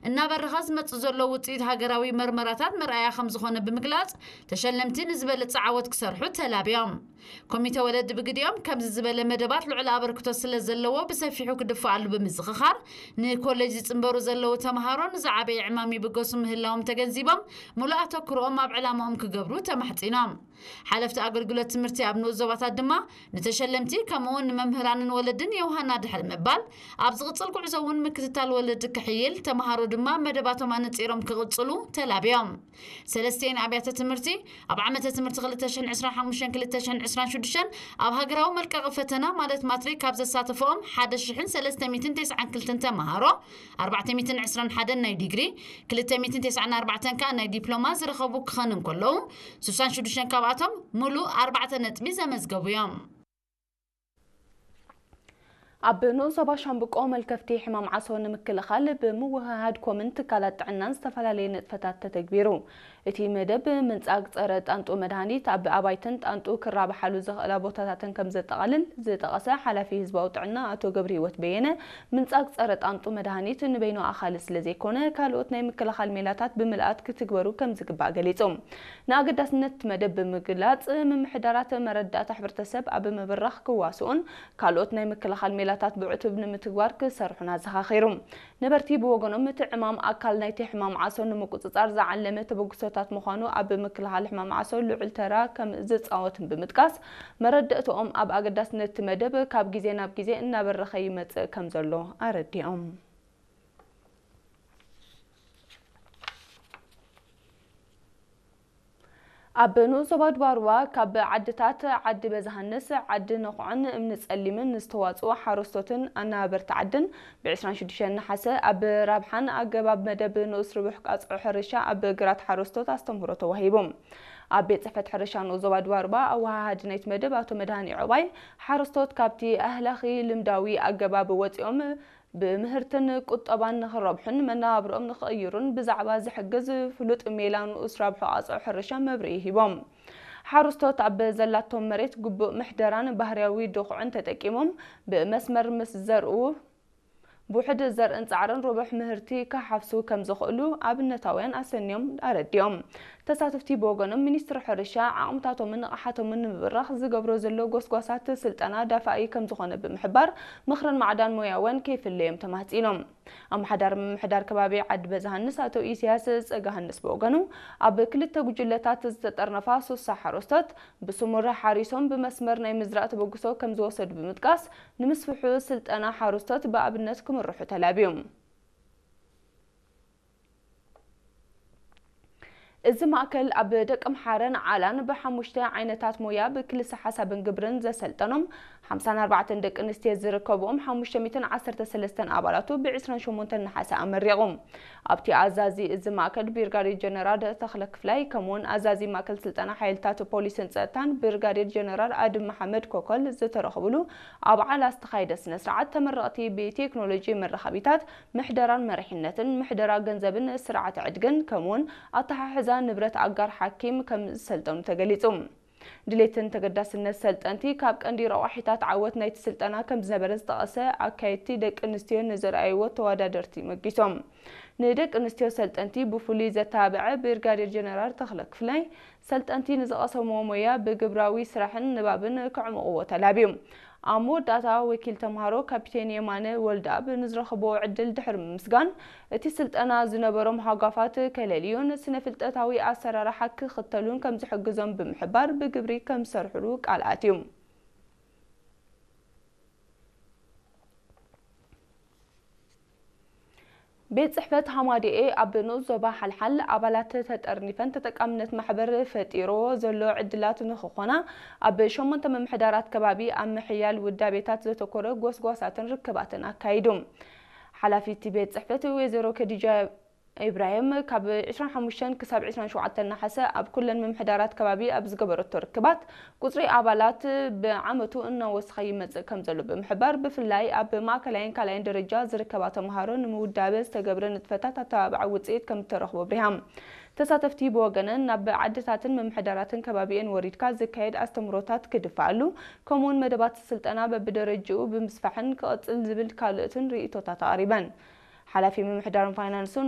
እናበረኸ ዝመጽእ ዘሎ ውጽኢት ሃገራዊ መርመራታት መርኣያ ከም ዝኾነ ብምግላጽ፣ ተሸለምቲ ንዝበለጸ ዓወት ክሰርሑ ተላብዮም። ኮሚተ ወለዲ ብግዲኦም፣ ከምዚ ዝበለ መደባት ልዑል ኣበርክቶ ስለ ዘለዎ ብሰፊሑ ክድፈኣሉ ብምዝኽኻር፣ ንኮሌጅ ዝጽንበሩ ዘለዉ ተምሃሮ ንዝዓበየ ዕማም ይብገሱ ምህላዎም ተገንዚቦም፣ ሙሉእ ኣተኩሮኦም ኣብ ዕላማኦም ክገብሩ ተማሕጺኖም። ሓለፍቲ ኣገልግሎት ትምህርቲ ኣብ ንኡስ ዞባታት ድማ፣ ንተሸለምቲ ከምኡውን ንመምህራንን ወለድን የውሃና ድሕሪ ምባል፣ ኣብ ዝቕጽል ጉዕዞ እውን ምክትታል ወለዲ ክሕይል፣ ተምሃሮ ድማ መደባቶም ኣነጺሮም ክቕጽሉ ተላብዮም። ሰለስቲኤን ኣብያተ ትምህርቲ ኣብ ዓመተ ትምህርቲ ክልተ ሽሕን ዕስራን ሓሙሽተን ክልተ ሽሕን ዕስራን ሽዱሽተን ኣብ ሃገራዊ መልቀቒ ፈተና ማለት ማትሪክ ካብ ዘሳተፈኦም ሓደ ሽሕን ሰለስተ ሚእትን ተስዓን ክልተን ተምሃሮ ኣርባዕተ ሚእትን ዕስራን ሓደን ናይ ዲግሪ፣ ክልተ ሚእትን ተስዓን ኣርባዕተን ከኣ ናይ ዲፕሎማ ዝረኸቡ ክኸኑ እንከለዉ፣ ስሳን ሽዱሽተን ካብኣቶም ሙሉእ ኣርባዕተ ነጥቢ ዘመዝገቡ እዮም። ኣብ ንኡስ ዞባ ሻምብቆ መልከፍቲ ሕማም ዓሶ ንምክልኻል ብምውህሃድ ኮምን ትካላት ጥዕናን ዝተፈላለየ ንጥፈታት ተተግቢሩ። እቲ መደብ ምንጻግ ጸረ ጣንጡ መድሃኒት ኣብ ኣባይትን ጣንጡ ክራብሓሉ ዝኽእላ ቦታታትን ከም ዘጠቓልል ዝጠቐሰ ሓላፊ ህዝባዊ ጥዕና ኣቶ ገብረህይወት በየነ፣ ምንጻግ ጸረ ጣንጡ መድሃኒት ንበይኑ ኣኻሊ ስለ ዘይኮነ፣ ካልኦት ናይ ምክልኻል ሜላታት ብምልኣት ክትግበሩ ከም ዝግባእ ገሊጹ። ንኣገዳስነት እቲ መደብ ብምግላጽ፣ ምምሕዳራት መረዳእታ ሕብረተሰብ ኣብ ምብራኽ ክዋስኡን ካልኦት ናይ ምክልኻል ሜላታት ብዕቱብ ንምትግባር ክሰርሑን ኣዘኻኺሩ። ነበርቲ ብወገኖም፣ እቲ ዕማም ኣካል ናይቲ ሕማም ዓሶ ንምቁጽጻር ዝዓለመ ተበግሶታት ምዃኑ ኣብ ምክልኻል ሕማም ዓሶ ልዑል ተራ ከም ዝጻወትን ብምጥቃስ፣ መረዳእታኦም ኣብ ኣገዳስነት እቲ መደብ ካብ ግዜ ናብ ግዜ እናበረኸ ይመጽእ ከም ዘሎ ኣረዲኦም። ኣብ ንኡስ ዞባ ዱባሩባ ካብ ዓድታት ዓዲ በዛሃንስ፣ ዓዲ ነኹዕን እምኒ ጸሊምን ዝተዋጽኡ ሓረስቶትን ኣናበርቲ ዓድን ብ ዕስራን ሽዱሽተን ነሓሰ ኣብ ራብሓን ኣገባብ መደብ ንኡስ ርቡሕ ቃጽዖ ሕርሻ ኣብ ግራት ሓረስቶት ኣስተምህሮ ተዋሂቡ። ኣብ ቤት ጽሕፈት ሕርሻ ንኡስ ዞባ ዱባሩባ ኣወሃሃዲ ናይቲ መደብ ኣቶ መድሃኒ ዑባይ፣ ሓረስቶት ካብቲ ኣህላኺ ልምዳዊ ኣገባብ ወጺኦም ብምህርትን ቁጠባን ንኽረብሑን መነባብሮኦም ንኽቕይሩን ብዛዕባ ዝሕግዝ ፍሉጥ ሜላ ንኡስ ራብሖ ቃጽዖ ሕርሻ መብርሂ ሂቦም። ሓረስቶት ኣብ ዘላቶም መሬት ግቡእ ምሕደራን ባህርያዊ ድኹዕን ተጠቂሞም ብመስመር ምስ ዘርኡ፣ ብውሕድ ዘርእን ጻዕርን ርቡሕ ምህርቲ ክሓፍሱ ከም ዝኽእሉ ኣብነታውያን ኣሰንዮም ኣረዲኦም። ተሳተፍቲ ብወገኖም፣ ሚኒስትሪ ሕርሻ ዓቕምታቶምን ንቕሓቶምን ንምብራኽ ዝገብሮ ዘሎ ጎስጓሳት ስልጠና ዳፋኢ ከም ዝኾነ ብምሕባር፣ ምኽርን ማዕዳን ሞያውያን ከይፍለዮም ተማህጺኖም። ኣመሓዳሪ ምምሕዳር ከባቢ ዓዲ በዛሃንስ ኣቶ ኢሳያስ ጸጋሃንስ ብወገኑ፣ ኣብ ክልተ ጉጅለታት ዝተጠርነፋ ሱሳ ሓረስቶት ብስሙር ሓሪሶም ብመስመር ናይ ምዝራእ ተበግሶ ከም ዝወሰዱ ብምጥቃስ፣ ንምስፍሑ ስልጠና ሓረስቶት ብኣብነት ክምርሑ ተላብዮም። እዚ ማእከል ኣብ ደቂ ኣምሓረን ዓላን ብሓሙሽተ ዓይነታት ሞያ ብክልሰ ሓሳብን ግብርን ዘሰልጠኖም ሓምሳን ኣርባዕተን ደቂ ኣንስትዮ ዝርከብኦም ሓሙሽተ ሚእትን ዓሰርተ ሰለስተን ኣባላቱ ብ ዕስራን ሸሞንተን ነሓሰ ኣመሪቑ። ኣብቲ ኣዛዚ እዚ ማእከል ብሪጋዴር ጀነራል ተኽለ ክፍላይ፣ ከምኡውን ኣዛዚ ማእከል ስልጠና ሓይልታት ፖሊስን ጸጥታን ብሪጋዴር ጀነራል ኣድም መሓመድ ኮኮል ዝተረኸብሉ ኣብ ዓላ ዝተኻየደ ስነ ስርዓት፣ ተመረቕቲ ብቴክኖሎጂ መራኸቢታት ምሕደራን መሪሕነትን፣ ምሕደራ ገንዘብን ስርዓተ ዕድግን፣ ከምኡውን ኣተሓሕዛ ንብረት ኣጋር ሓኪም ከም ዝሰልጠኑ ተገሊጹ። ድሌትን ተገዳስነት ሰልጠንቲ ካብ ቀንዲ ረቋሒታት ዓወት ናይቲ ስልጠና ከም ዝነበረ ዝጠቐሰ ኣካየድቲ፣ ደቂ ኣንስትዮ ንዘርኣይዎ ተወዳደርቲ መጊሶም። ንደቂ ኣንስትዮ ሰልጠንቲ ብፍሉይ ዘተባብዐ ብርጋዴር ጀነራል ተኽለ ክፍላይ፣ ሰልጠንቲ ንዝቐሰምዎ ሞያ ብግብራዊ ስራሕን ንባብን ከዕምቕዎ ተላብዩ። ኣብ መወዳእታ፣ ወኪል ተምሃሮ ካፒቴን የማነ ወልደኣብ ንዝረኸብዎ ዕድል ድሕሪ ምምስጋን፣ እቲ ስልጠና ዝነበሮም ሃጓፋት ከለልዩን ስነ ፍልጠታዊ ኣሰራርሓ ክኽተሉን ከም ዝሕግዞም ብምሕባር፣ ብግብሪ ከም ዝሰርሕሉ ቃል ኣትዩ። ቤት ጽሕፈት ሃማዲኤ ኣብ ንኡስ ዞባ ሓልሓል ኣባላት ተጠርኒፈን ተጠቃምነት ማሕበር ፈጢርዎ ዘሎ ዕድላት ንኽኾና ኣብ ሸሞንተ ምምሕዳራት ከባቢ ኣብ ምሕያል ውዳቤታት ዘተኮረ ጎስጓሳትን ርክባትን ኣካይዱ። ሓላፊት ቤት ጽሕፈት ወይዘሮ ከዲጃ ኢብራሂም ካብ ዕስራን ሓሙሽተን ክሳብ ዕስራን ሸውዓተን ነሓሰ ኣብ ኩለን ምምሕዳራት ከባቢ ኣብ ዝገበረቶ ርክባት፣ ቁጽሪ ኣባላት ብዓመቱ እናወሰኸ ይመጽእ ከም ዘሎ ብምሕባር፣ ብፍላይ ኣብ ማእከላይን ካልኣይን ደረጃ ዝርከባ ተምሃሮ ንምውዳበ ዝተገብረ ንጥፈታት ኣተባባዒ ውጽኢት ከም እተረኽቦ ኣብሪሃ። ተሳተፍቲ ብወገነን፣ ናብ ዓድታትን ምምሕዳራትን ከባቢኤን ወሪድካ ዝካየድ ኣስተምህሮታት ክድፋኣሉ፣ ከምኡውን መደባት ስልጠና በብደረጅኡ ብምስፋሕን ክቕጽል ዝብል ካልኦትን ርእይቶታት ኣቕሪበን። ሓላፊ ምምሕዳርን ፋይናንስን